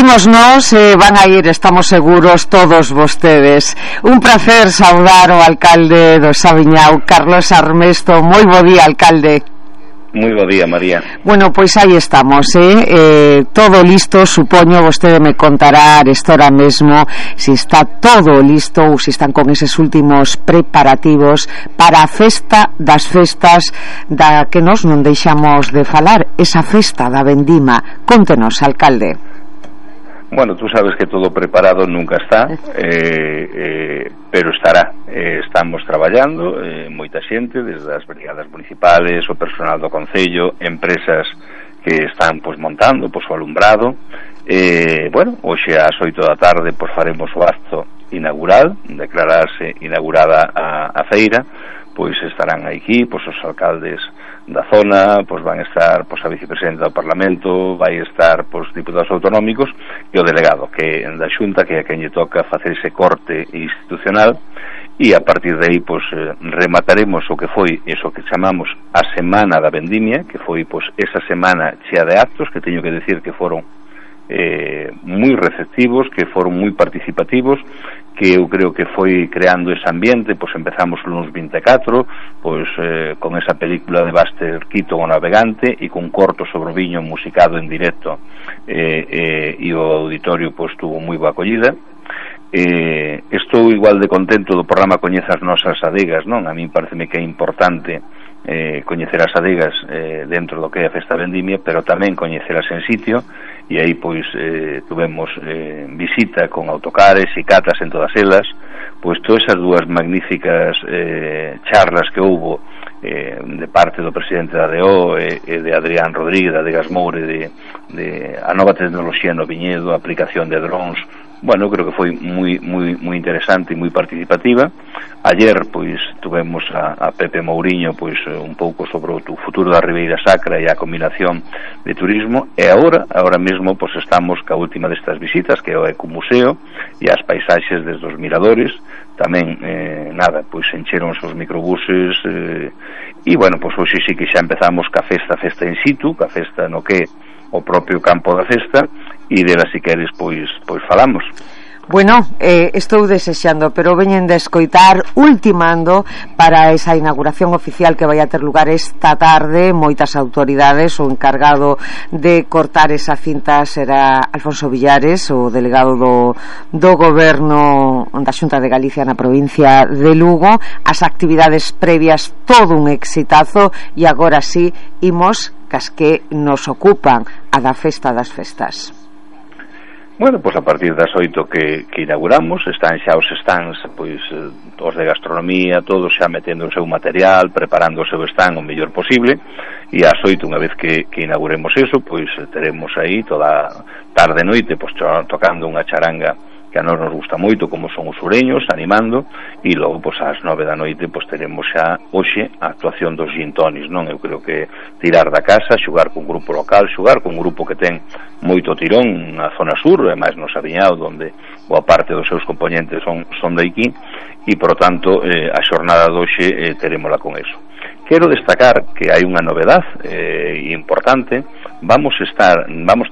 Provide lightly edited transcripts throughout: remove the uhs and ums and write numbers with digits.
imos nós e van a ir, estamos seguros, todos vostedes. Un placer saudar o alcalde do Saviñao, Carlos Armesto. Moi bo día, alcalde. Moi bo día, María. Bueno, pois aí estamos, todo listo, supoño, vostede me contará estora mesmo se está todo listo ou se están con eses últimos preparativos para a festa das festas da que nos non deixamos de falar, esa festa da vendima. Contenos, alcalde. Bueno, tú sabes que todo preparado nunca está, pero estará. Estamos traballando, moita xente, desde as brigadas municipales, o personal do concello, empresas que están montando o alumbrado. Bueno, hoxe ás 8 da tarde faremos o acto inaugural, declararse inaugurada a feira. Pois estarán aquí os alcaldes da zona, van estar a vicepresidenta do Parlamento, vai estar diputados autonómicos e o delegado que da Xunta, que é a quen lle toca facer ese corte institucional, e a partir de aí remataremos o que foi eso que chamamos a Semana da Vendimia, que foi esa semana chea de actos, que teño que decir que foron moi receptivos, que foron moi participativos, que eu creo que foi creando ese ambiente. Empezamos o lunes 24 con esa película de Buster Keaton, O Navegante, e con corto sobre o viño musicado en directo, e o auditorio tuvo moi boa acollida. Estou igual de contento do programa Coñece as nosas adegas, non? A mí pareceme que é importante coñecer as adegas dentro do que é a festa vendimia, pero tamén coñeceras en sitio, e aí tuvemos visita con autocares e catas en todas elas. Todas esas dúas magníficas charlas que houbo de parte do presidente da ADO e de Adrián Rodríguez, de Adegas Moure, de a nova tecnoloxía no viñedo, a aplicación de drones. Bueno, creo que foi moi interesante e moi participativa. Ayer tuvemos a Pepe Mouriño un pouco sobre o futuro da Ribeira Sacra e a combinación de turismo, e agora mesmo estamos ca última destas visitas, que é o Ecomuseo e as paisaxes desde os miradores. Tamén encheron os microbuses, e bueno, hoxe sí que xa empezamos ca festa in situ, ca festa no que o propio campo da festa, e dela si queres falamos. Bueno, estou desexando, pero veñen de escoitar, ultimando para esa inauguración oficial que vai a ter lugar esta tarde. Moitas autoridades, o encargado de cortar esa cinta será Alfonso Villares, o delegado do goberno da Xunta de Galicia na provincia de Lugo. As actividades previas, todo un exitazo, e agora sí imos cas que nos ocupan, a da festa das festas. Bueno, a partir das 8 que inauguramos, están xa os stands, os de gastronomía, todos xa metendo o seu material, preparando o seu stand o mellor posible, e ás 8, unha vez que inauguremos eso, teremos aí toda tarde e noite tocando unha charanga que a nós nos gusta moito, como son os sureños, animando, e logo ás 9 da noite teremos xa hoxe a actuación dos gin tonis, non? Eu creo que tirar da casa, xogar con grupo local, xogar con un grupo que ten moito tirón na zona sur, e máis no Saviñao, onde boa parte dos seus componentes son de aquí, e por tanto a xornada de hoxe terémola con eso. Quero destacar que hai unha novedade importante. Vamos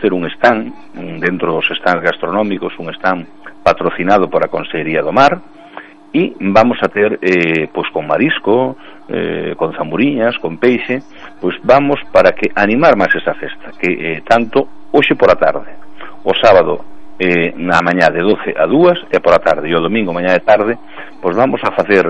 ter un stand dentro dos stands gastronómicos, un stand patrocinado por a Consellería do Mar, e vamos a ter con marisco, con zamburiñas, con peixe, vamos para que animar máis esa festa, que tanto hoxe por a tarde, o sábado na mañá de 12 a 2 e por a tarde, e o domingo mañá de tarde, vamos a facer